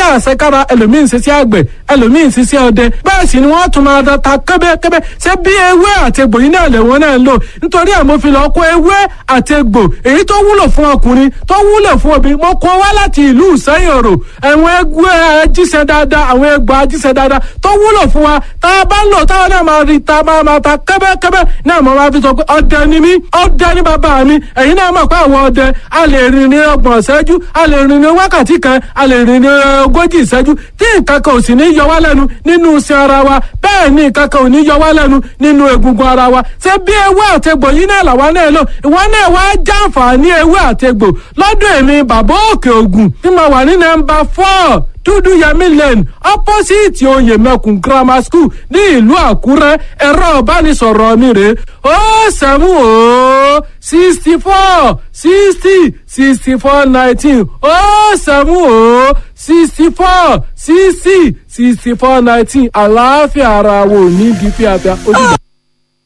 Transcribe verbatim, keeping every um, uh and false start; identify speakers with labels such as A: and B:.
A: ṣiṣẹ́ àṣekára, ẹlòmíì ń ṣiṣẹ́ àgbẹ̀, ẹlòmíì ń ṣiṣẹ́ ọdẹ, bẹ́ẹ̀ sì ni wọ́n tún máa da ta kẹ́bẹ́kẹ́bẹ́. Ṣé bí ewé àti egbò yìí náà lẹ̀wọ̀n náà ń lò? Nítorí ẹ̀ mo fi lọ kó ewé àti egbò èyí tó wúlò fún ọkùnrin, tó wúlò fún obìnrin, mo kó wá láti ìlú Ìsẹ́yìn Òrò. Àwọn egbò ajíṣẹ́ dáadáa, àwọn egbò ajíṣẹ́ dáadáa tó wúlò fún wa, tá a bá ń lò táwọn náà máa rí ta máa máa ta kẹ́bẹ́kẹ́bẹ́ náà. Mo máa fi sọ pé ọdẹ ni mí, ọdẹ ni bàbá mi. Ẹ̀yin náà mọ̀ pé àwọn ọdẹ a lè rìn ní ọgbọ̀n ìṣẹ́jú, a lè rìn ní wákàtí kan, a lè rìn ní ogójì ìṣẹ́jú, tí nǹkan kan ò sì ní yọ wá lẹ́nu nínú iṣan ara wa. Bẹ́ẹ̀ ni nǹkan kan ò ní yọ wá lẹ́nu nínú egungun ara wa. Ṣé bí ewé àtegbò yìí náà làwa náà lò? Ìwọ náà wá jàǹfààní ewé àtegbò lọ́dọ̀ èmi Bàbá Òkè Ògùn tí mo wà ní nọ́mbà four, Dúdú Yẹmí Lane, opposite Oyèmẹkùn Grammar School ní ìlú Àkúrẹ́. Ẹ̀rọ ìbánisọ̀rọ̀ mi rè ó seven ó sixty four sixty sixty four nineteen, ó seven ó sixty four sixty sixty four nineteen. Àlàáfíà ara wo ní di fíafíà ó dìgbà.